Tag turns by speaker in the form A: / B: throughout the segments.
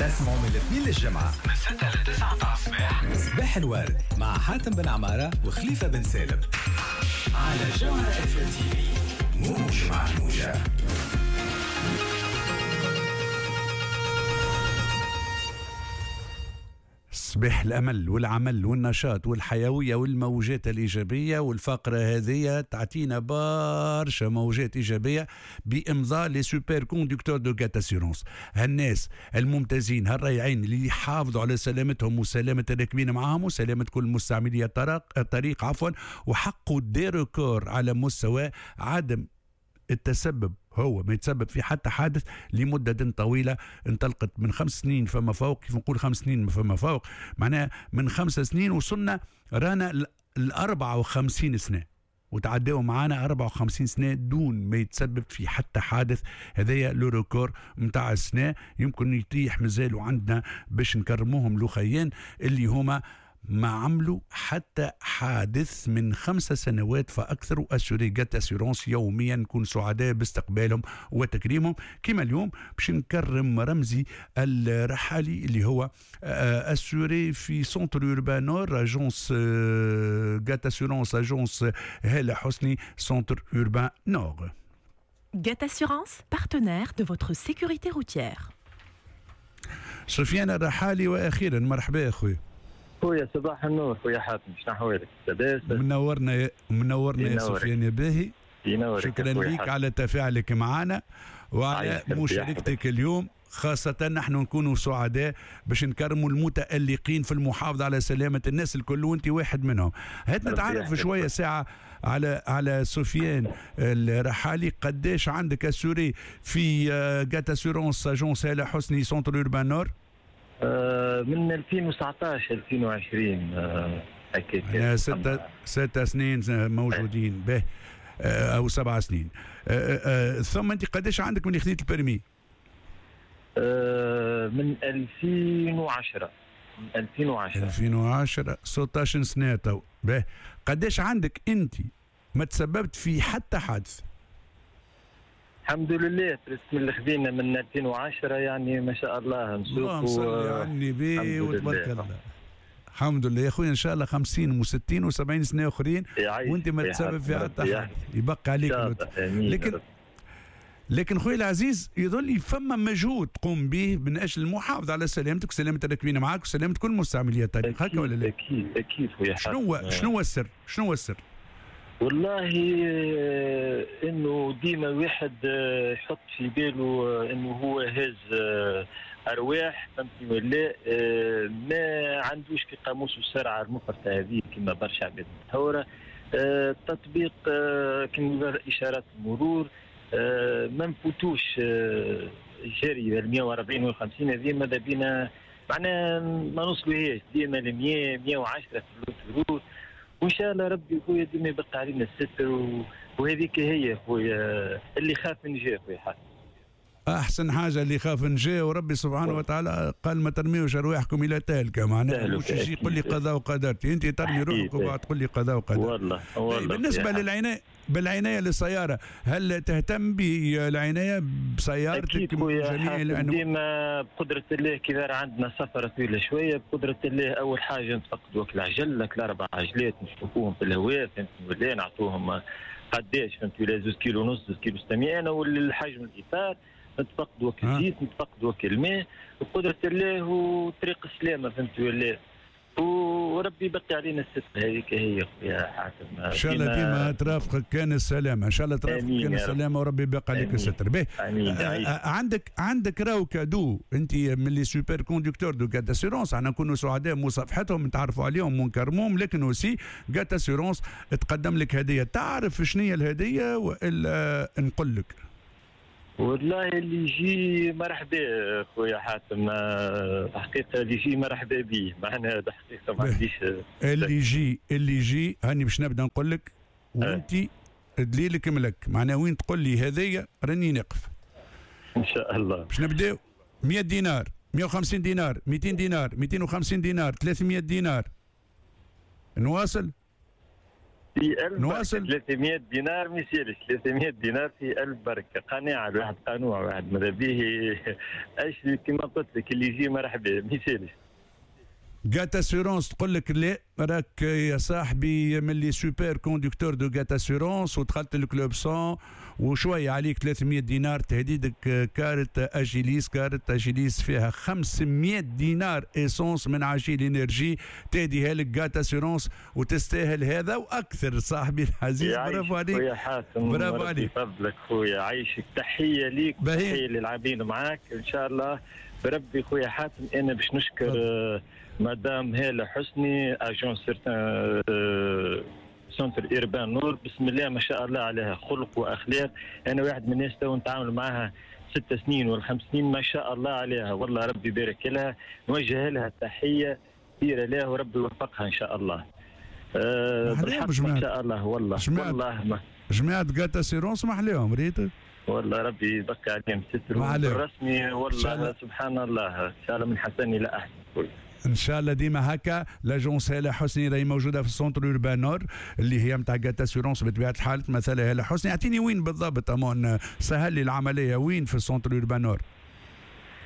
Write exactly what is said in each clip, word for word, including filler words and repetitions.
A: تسمعوا من الاثنين للجمعة
B: من ستة ل تسعة متاع الصباح.
A: صباح الورد مع حاتم بن عمارة وخليفة بن سالم على جوهرة اف ام تي في، موج مع الموجة.
C: صباح الأمل والعمل والنشاط والحيوية والموجات الإيجابية، والفقرة هذه تعطينا برشا موجات إيجابية بإمضاء les super conducteurs de GAT Assurances، هالناس الممتازين هالرائعين اللي يحافظوا على سلامتهم وسلامة الراكبين معاهم وسلامة كل مستعملي الطريق الطريق عفوا، وحقوا des records على مستوى عدم التسبب، هو ما يتسبب في حتى حادث لمدة طويلة انطلقت من خمس سنين فما فوق. كيف نقول خمس سنين فما فوق؟ معناها من خمس سنين وصلنا رانا الأربعة وخمسين سنة، وتعداو معانا أربعة وخمسين سنة دون ما يتسبب في حتى حادث. هذايا le record نتاع السنة يمكن يطيح مازالوا عندنا باش نكرموهم لخيان اللي هما ما عملوا حتى حادث من خمسة سنوات فأكثر. assurés GAT Assurances يوميا نكون سعداء باستقبالهم وتكريمهم. كما اليوم باش نكرم رمزي الرحالي اللي هو assuré في Centre Urbain Nord، agence GAT Assurances، agence هالة حسني، Centre Urbain Nord.
D: GAT Assurances, partenaire de votre sécurité routière.
C: سفيان الرحالي واخيرا مرحبا يا اخوي.
E: خويا صباح النور خويا حاتم، شنو احوالك؟ لاباس؟
C: منورنا يا منورنا يا سفيان يا باهي. شكرا لك على تفاعلك معنا وعلى مشاركتك اليوم، خاصة نحن نكون سعداء باش نكرموا المتألقين في المحافظة على سلامة الناس الكل، وانت واحد منهم. هات نتعرف شوية ساعة على على سفيان الرحالي. قداش عندك assuré في GAT Assurances agence هالة حسني Centre Urbain Nord؟
E: من ألفين وتسعطاش ألفين وعشرين
C: هكاك، ستة ستة سنين موجودين به او سبع سنين. ثم انت قداش عندك من خديت ال permis؟
E: من ألفين وعشرة. من ألفين وعشرة
C: ألفين وعشرة ستة عشر سنة تو. به قداش عندك انت ما تسببت في حتى حادث؟
E: الحمد لله presque اللي خذينا من ألفين وعشرة يعني ما شاء الله نسوق.
C: اللهم صل على النبي وتبارك الله. الحمد لله يا خويا، ان شاء الله خمسين وستين وسبعين سنة اخرين وانت ما تسبب في حتى حادث، يبقى عليك. لكن لكن خويا العزيز يظل فما مجهود تقوم به من اجل المحافظة على سلامتك وسلامه الراكبين معاك وسلامه كل مستعملي الطريق، هكا ولا لا؟
E: اكيد اكيد خويا.
C: شنو شنو السر؟ شنو السر؟
E: والله انه ديما واحد يحط في باله انه هو هاز ارواح، فهمتني ولا؟ ما عندوش في قاموس السرعة المفرطة هذه كما برشا عباد متهوره. التطبيق كما اشارات المرور، ما نفوتوش الجري ال مية وأربعين وال خمسين هذه، ماذا بينا معناها ما نوصلوهاش ديما ل مية مية وعشرة في l'autoroute. وان شاء الله ربي خويا ديما يبقى علينا الستر و... وهذيك هي خويا اللي خاف نجا خويا حاتم.
C: احسن حاجة اللي خاف نجا، وربي سبحانه وتعالى قال ما ترميوش ارواحكم الى تهلكه، معناها مش يجي يقول لي قضاء وقدرتي، انت ترمي روحك وبعد تقول لي قضاء وقدر.
E: والله والله.
C: بالنسبة للعنايه بالعناية للسيارة، هل تهتم بالعناية بسيارتك؟
E: اكيد خويا حاتم، ديما بقدره الله كي دار عندنا سفره طويلة شوية بقدره الله اول حاجة نتفقدوا العجل، لك الاربع عجلات نشوفوهم في الهواء، فهمتني ولا؟ نعطوهم قداش، فهمتني ولا؟ زوج كيلو ونص، زوج كيلو ستمية انا والحجم الاطار، نتفقدوا الزيت، نتفقدوا الماء بقدرة الله وطريق السلامة، فهمت ولا؟ وربي يبقي علينا الستر. هذيك هي يا حاتم.
C: ان شاء الله ديما ترافقك كان السلامة، ان شاء الله ترافقك كان السلامة وربي يبقى عليك الستر. باهي عندك عندك راهو cadeau انت من les super conducteurs de GAT Assurances، احنا نكونوا سعداء مصافحتهم، نتعرفوا عليهم ونكرموهم، لكن aussi GAT Assurances تقدم لك هديه. تعرف شنو هي الهدية والا نقول لك؟
E: والله اللي يجي مرحبا خويا حاتم، الحقيقة اللي يجي مرحبا به، معناها الحقيقة ما عنديش.
C: اللي يجي اللي يجي هاني باش نبدا نقول لك وانت دليلك ملك، معناها وين تقول لي هذايا راني نقف.
E: ان شاء الله.
C: باش نبداو مية دينار، مية وخمسين دينار، ميتين دينار، ميتين وخمسين دينار، ثلاثمية دينار. نواصل؟
E: في ألف
C: نواصل.
E: ثلاثمية دينار ما يصيرش، ثلاثمية دينار في ألف بركة. قناعة الواحد، قنوع واحد ماذا به اش كما قلت لك اللي يجي مرحبا ما يصيرش.
C: GAT Assurances تقول لك لا راك يا صاحبي من les super conducteurs de GAT Assurances ودخلت ال club مية وشوية عليك ثلاثمية دينار تهديدك carte Agilis، carte Agilis فيها خمسمية دينار essence من Agil Énergie تهديها لك GAT Assurances وتستاهل هذا واكثر صاحبي العزيز. برافو عليك
E: خويا حاتم،
C: برافو عليك،
E: فضلك خويا، عايشك. تحية ليك وتحية للعابين معاك ان شاء الله. بربي خويا حاتم انا باش نشكر مدام هالة حسني agent certain centre urbain nord، بسم الله ما شاء الله عليها، خلق واخلاق. انا واحد من الناس تو نتعامل معها ست سنين ولا خمس سنين، ما شاء الله عليها والله ربي يبارك لها. نوجه لها تحية كبيرة لها وربي يوفقها ان شاء الله. أه بالحق ما شاء الله والله والله ما
C: جماعة GAT Assurances محليهم ريت
E: والله ربي يبقى عليهم ستر الرسمي والله سبحان الله، ان شاء الله من حسن الى احسن.
C: ان شاء الله ديما هكا. l'agence هالة حسني راهي موجودة في ال centre urbain nord اللي هي نتاع GAT Assurances بطبيعة الحال تمثلها هالة حسني. اعطيني وين بالضبط امان، سهل لي العملية، وين في ال centre urbain nord؟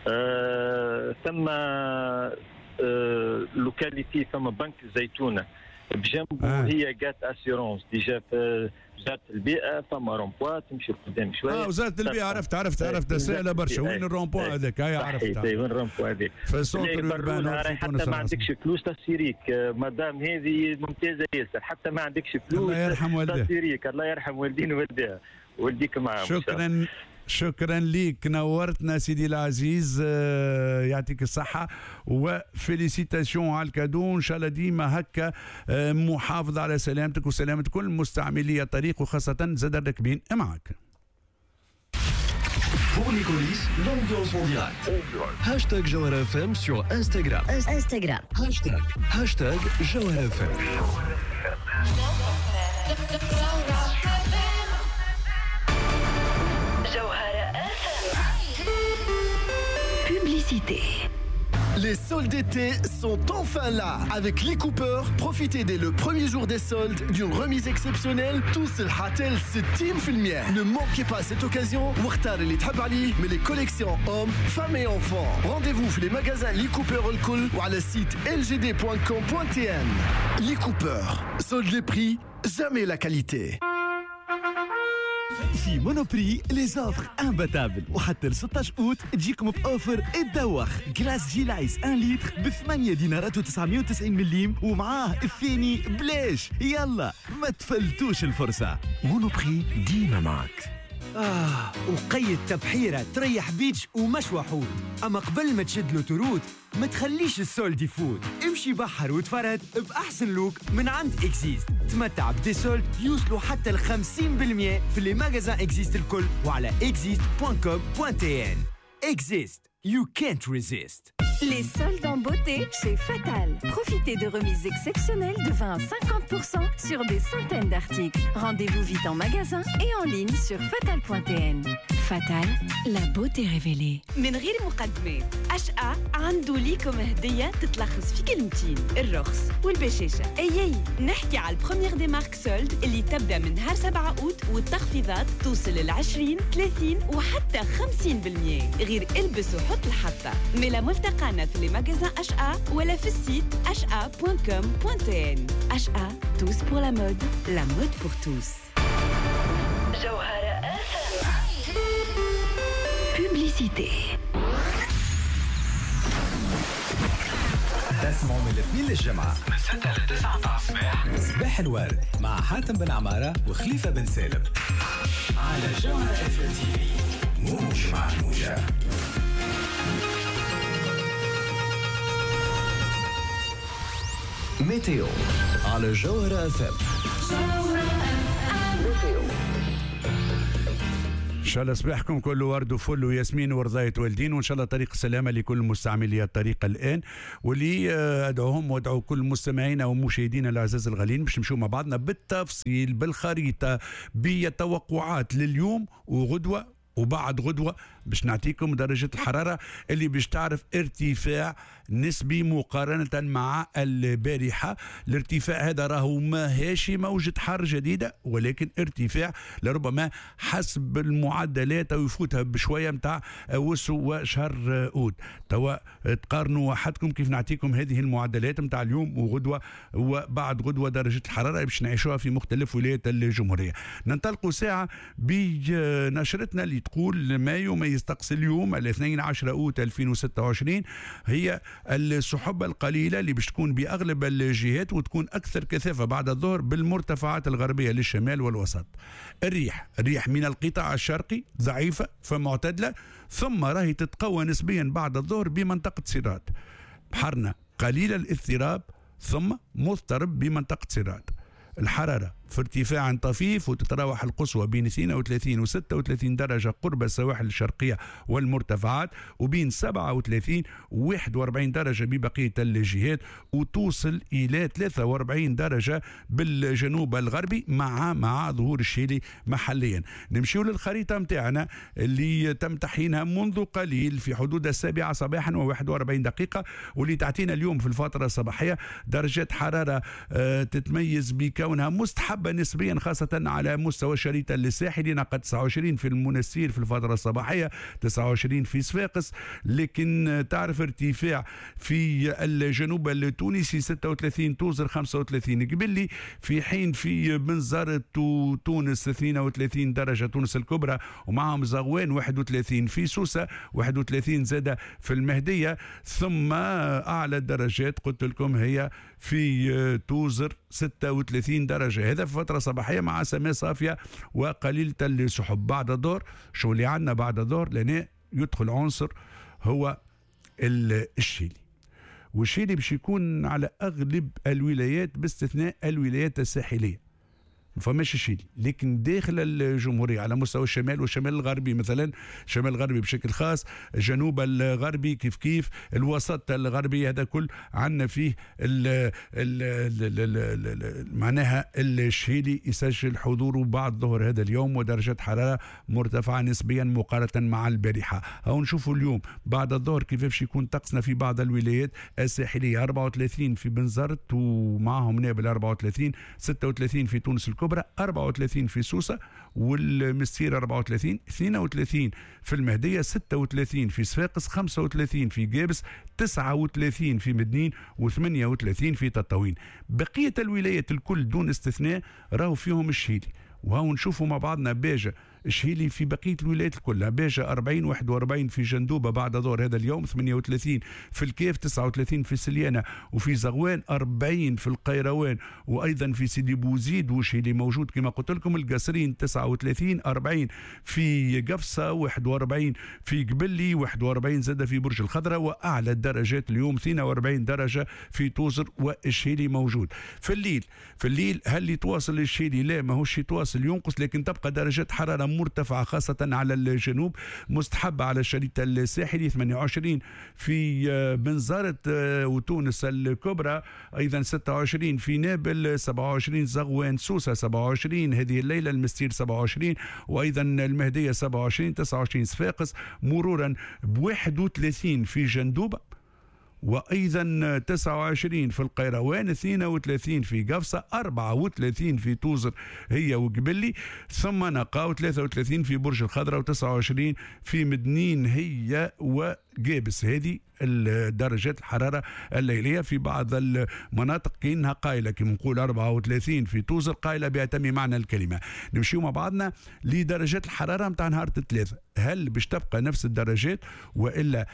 E: أه ثم أه localité، ثم بنك الزيتونه بجنبه آه. هي GAT Assurances déjà في وزارة البيئة، فما rond-point تمشي قدام شوية.
C: اه وزارة البيئة عرفت عرفت عرفت سهلة برشا. وين ال rond-point هذاك؟ هاي عرفت
E: وين ال rond-point هذاك
C: في ال centre urbain.
E: حتى ما عندكش فلوس تسيريك مدام هذه ممتازة ياسر، حتى ما عندكش فلوس
C: الله يرحم والديها
E: تسيريك، الله يرحم والدين والديها والديك معاهم.
C: شكرا شكرا ليك، نورتنا سيدي العزيز، يعطيك الصحة و félicitations على ال cadeau. إن شاء الله ديما هكا محافظ على سلامتك وسلامة كل مستعملي الطريق وخاصة زاد الراكبين معك.
A: Pour les coulisses, l'ambiance en direct. Hashtag Jawhara F M sur Instagram.
F: Instagram.
A: Hashtag, hashtag Jawhara F M.
F: Publicité.
G: Les soldes d'été sont enfin là. Avec Lee Cooper, profitez dès le premier jour des soldes d'une remise exceptionnelle. Tous le hatel ستين بالمية. Ne manquez pas cette occasion. واختار اللي تحب عليه من les collections hommes, femmes et enfants. Rendez-vous في les magasins Lee Cooper الكل وعلى site l g d point com point t n. Lee Cooper, solde les prix, jamais la qualité.
H: في Monoprix les offres imbattables وحتى ل ستة عشر اوت تجيكم ب offre تدوخ. glace Gel Ice واحد لتر ب ثمانية دينارات وتسعمية وتسعين مليم ومعاه الثاني بلاش. يلا ما تفلتوش الفرصة،
A: Monoprix ديما معك.
I: آه وقيد تبحيرة تريح beach ومشوى حوت، أما قبل ما تشد l'autoroute ما تخليش ال solde يفوت. امشي بحر وتفرهد بأحسن look من عند Exist. تمتع ب des soldes يوصلوا حتى ل خمسين بالمية في les magasins Exist الكل وعلى exist point com point t n. Exist, you can't resist.
F: Les soldes en beauté chez Fatal. Profitez de remises exceptionnelles de vingt à cinquante pour cent sur des centaines d'articles. Rendez-vous vite en magasin et en ligne sur fatal point t n. Fatal, la beauté révélée.
J: من غير مقدمات، اش ا عنده ليكم هدية تتلخص في كلمتين، الرخص والبشاشة. اي اي نحكي على ال première des marques soldes اللي تبدا من نهار سبعة اوت والتخفيضات توصل ل عشرين ثلاثين وحتى خمسين بالمية. غير البس وحط الحطة. ملا ملتقانا في les magasins H A ولا في ال site h a point com point t n. H A, tous pour la mode, la mode pour tous.
F: جوهرة F M. Publicité.
A: تسمعوا من الاثنين للجمعة من ستة لتسعة متاع الصباح، صباح الورد مع حاتم بن عمارة وخليفة بن سالم على جوهرة F M T V. موج مع الموجة. météo على جوهرة F M.
C: ان شاء الله صباحكم كله ورد وفل وياسمين ورضاية والدين، وان شاء الله طريق السلامة لكل مستعملي الطريق الان، واللي ادعوهم وادعو كل مستمعينا ومشاهدينا الاعزاز الغاليين باش نمشيو مع بعضنا بالتفصيل بالخريطة بالتوقعات لليوم وغدوه وبعد غدوة باش نعطيكم درجة الحرارة اللي باش تعرف ارتفاع نسبي مقارنة مع البارحة. الارتفاع هذا راهو ماهيش موجة حر جديدة، ولكن ارتفاع لربما حسب المعدلات أو يفوتها بشوية متاع أوسو وشهر أوت. توا تقارنوا وحدكم كيف نعطيكم هذه المعدلات متاع اليوم وغدوة وبعد غدوة درجة الحرارة باش نعيشوها في مختلف ولايات الجمهورية. ننطلقوا ساعة بنشرتنا اللي تقول ما يميز طقس اليوم الاثنين عشر أوت ألفين وستة وعشرين هي السحب القليلة اللي باش تكون بأغلب الجهات وتكون أكثر كثافة بعد الظهر بالمرتفعات الغربية للشمال والوسط. الريح الريح من القطاع الشرقي ضعيفة فمعتدلة، ثم راهي تتقوى نسبيا بعد الظهر بمنطقة سيرات. بحرنا قليل الاضطراب ثم مضطرب بمنطقة سيرات. الحرارة في ارتفاع طفيف وتتراوح القصوى بين اثنين وثلاثين و ستة وثلاثين درجة قرب السواحل الشرقية والمرتفعات، وبين سبعة وثلاثين و واحد وأربعين درجة ببقية الجهات، وتوصل إلى ثلاثة وأربعين درجة بالجنوب الغربي مع مع ظهور الشيلي محليا. نمشيو للخريطة متاعنا اللي تم تحيينها منذ قليل في حدود السابعة صباحا وواحد وأربعين دقيقة، واللي تعطينا اليوم في الفترة الصباحية درجات حرارة تتميز بكونها مستحبة نسبيا، خاصة على مستوى الشريط الساحلي، نقد تسعة وعشرين في المنستير في الفترة الصباحية، تسعة وعشرين في صفاقس، لكن تعرف ارتفاع في الجنوب التونسي ستة وثلاثين توزر، خمسة وثلاثين قبلي، في حين في بنزرت وتونس اثنين وثلاثين درجة تونس الكبرى، ومعهم زغوان واحد وثلاثين في سوسة، واحد وثلاثين زادة في المهدية، ثم أعلى الدرجات قلت لكم هي في توزر ستة وثلاثين درجة. هذا في فترة صباحية مع سماء صافية وقليلة السحب. بعد الظهر شو اللي عندنا بعد الظهر؟ لأن يدخل عنصر هو الشيلي، والشيلي باش يكون على أغلب الولايات باستثناء الولايات الساحلية، ما فماش الشيلي، لكن داخل الجمهورية على مستوى الشمال والشمال الغربي مثلا، الشمال الغربي بشكل خاص، الجنوب الغربي كيف كيف، الوسط الغربي، هذا كل عندنا فيه ال ال ال ال معناها الشيلي يسجل حضوره بعد ظهر هذا اليوم، ودرجة حرارة مرتفعة نسبيا مقارنة مع البارحة. أو نشوفوا اليوم بعد الظهر كيف باش يكون طقسنا في بعض الولايات الساحلية، أربعة وثلاثين في بنزرت ومعهم نابل أربعة وثلاثين، ستة وثلاثين في تونس الكبرى، أربعة وثلاثين في سوسة والمستير أربعة وثلاثين، اثنين وثلاثين في المهدية، ستة وثلاثين في صفاقس، خمسة وثلاثين في جابس، تسعة وثلاثين في مدنين، وثمانية وثلاثين في تطاوين. بقية الولايات الكل دون استثناء راهو فيهم الشيلي، وهاو نشوفوا مع بعضنا باجة الشهيلي في بقية الولايات كلها، باجة أربعين، واحد وأربعين في جندوبة بعد ظهر هذا اليوم، ثمانية وثلاثين في الكيف، تسعة وثلاثين في سليانة وفي زغوان، أربعين في القيروان وأيضا في سيدي بوزيد وشهيلي موجود كما قلت لكم، القصرين تسعة وثلاثين، أربعين في قفصة، واحد وأربعين في قبلي، واحد وأربعين زاد في برج الخضراء، وأعلى الدرجات اليوم اثنين وأربعين درجة في توزر والشهيلي موجود. في الليل في الليل هل يتواصل الشهيلي؟ لا، ماهوش يتواصل، ينقص، لكن تبقى درجات حرارة مرتفعة خاصة على الجنوب، مستحبة على الشريط الساحلي، ثمانية وعشرين في بنزرت وتونس الكبرى، أيضا ستة وعشرين في نابل، سبعة وعشرين زغوان سوسة، سبعة وعشرين هذه الليلة المستير سبعة وعشرين، وأيضا المهدية سبعة وعشرين، تسعة وعشرين صفاقس، مرورا ب واحد وثلاثين في جندوبة، وأيضا تسعة وعشرين في القيروان، اثنين وثلاثين في قفصة، أربعة وثلاثين في توزر هي وقبلي، ثم نقاو ثلاثة وثلاثين في برج الخضراء، وتسعة وعشرين في مدنين هي وجابس. هذه درجات الحرارة الليلية في بعض المناطق كأنها قايلة، كما نقول أربعة وثلاثين في توزر قايلة بأتم معنى الكلمة. نمشيو مع بعضنا لدرجات الحرارة متاع نهار الثلاثاء، هل باش تبقى نفس الدرجات وإلا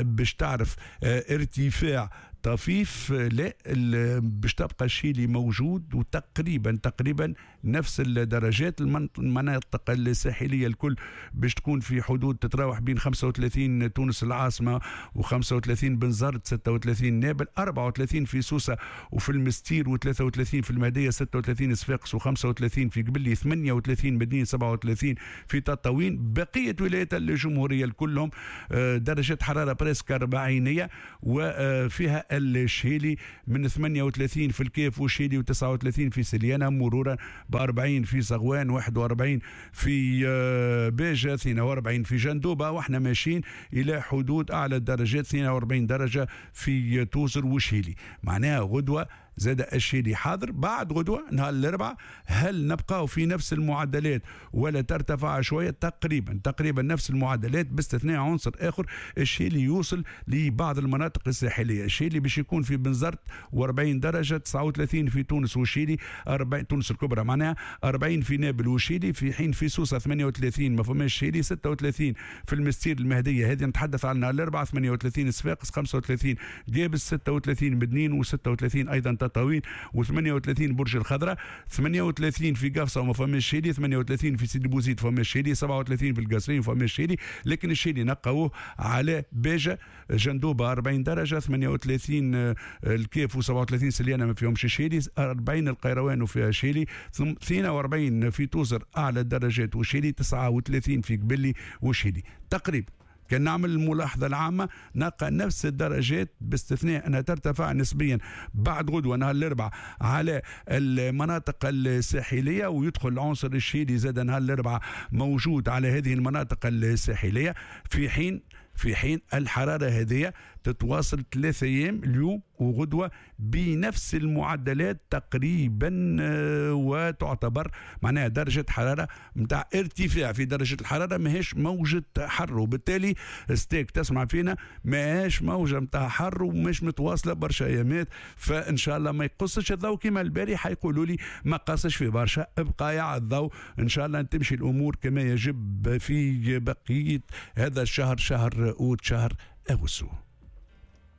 C: باش تعرف ارتفاع طفيف؟ لا، باش تبقى الشيلي موجود وتقريبا تقريبا نفس الدرجات. المناطق الساحلية الكل باش تكون في حدود تتراوح بين خمسة وثلاثين تونس العاصمة، وخمسة وثلاثين بنزرت، ستة وثلاثين نابل، أربعة وثلاثين في سوسة وفي المستير، وثلاثة وثلاثين في المهدية، ستة وثلاثين صفاقس، وخمسة وثلاثين في قبلي، ثمانية وثلاثين مدنين، سبعة وثلاثين في تطاوين. بقية ولايات الجمهورية كلهم درجات حرارة presque أربعينية وفيها الشهيلي، من ثمانية وثلاثين في الكيف والشهيلي وتسعة وثلاثين في سليانة، مرورا ب أربعين في صغوان، واحد وأربعين في باجة، اثنين وأربعين في جندوبة، واحنا ماشيين إلى حدود أعلى الدرجات اثنين وأربعين درجة في توزر وشهيلي. معناها غدوة زاد الشيلي حاضر. بعد غدوة نهار الأربعاء هل نبقى في نفس المعدلات ولا ترتفع شوية؟ تقريبا تقريبا نفس المعدلات باستثناء عنصر آخر، الشيلي يوصل لبعض المناطق الساحلية. الشيلي باش يكون في بنزرت وأربعين درجة، تسعة وثلاثين في تونس وشيلي، أربعين تونس الكبرى معناها، أربعين في نابل وشيلي، في حين في سوسة ثمانية وثلاثين ما فماش شيلي، ستة وثلاثين في المستير المهدية، هذه نتحدث عن نهار الأربعاء، ثمانية وثلاثين صفاقس، خمسة وثلاثين جابس، ستة وثلاثين مدنين، وستة وثلاثين أيضا تطاوين، وثمانية وثلاثين برج الخضراء، ثمانية وثلاثين في قفصة وما فماش شيلي، ثمانية وثلاثين في سيدي بوزيد فماش شيلي، سبعة وثلاثين في القصرين فماش شيلي، لكن الشيلي نقوه على باجة، جندوبة أربعين درجة، ثمانية وثلاثين الكيف وسبعة وثلاثين سليانة ما فيهمش شيلي، أربعين القيروان وفيها شيلي، اثنين وأربعين في توزر أعلى الدرجات وشيلي، تسعة وثلاثين في قبلي وشيلي. تقريبا كان نعمل الملاحظة العامة نلقى نفس الدرجات باستثناء أنها ترتفع نسبيا بعد غدوة نهار الأربعاء على المناطق الساحلية، ويدخل العنصر الشيلي زاد نهار الأربعاء موجود على هذه المناطق الساحلية، في حين في حين الحرارة هذه تتواصل ثلاثة أيام اليوم وغدوة بنفس المعدلات تقريبا، وتعتبر معناها درجة حرارة متاع ارتفاع في درجة الحرارة، ماهيش موجة حر، وبالتالي ستيك تسمع فينا ماهيش موجة متاع حر ومش متواصلة برشا أيامات، فإن شاء الله ما يقصش الضوء كما البارحة يقولوا لي ما قصش في برشا بقايا الضوء، إن شاء الله تمشي الأمور كما يجب في بقية هذا الشهر، شهر أوت، شهر أغسطس.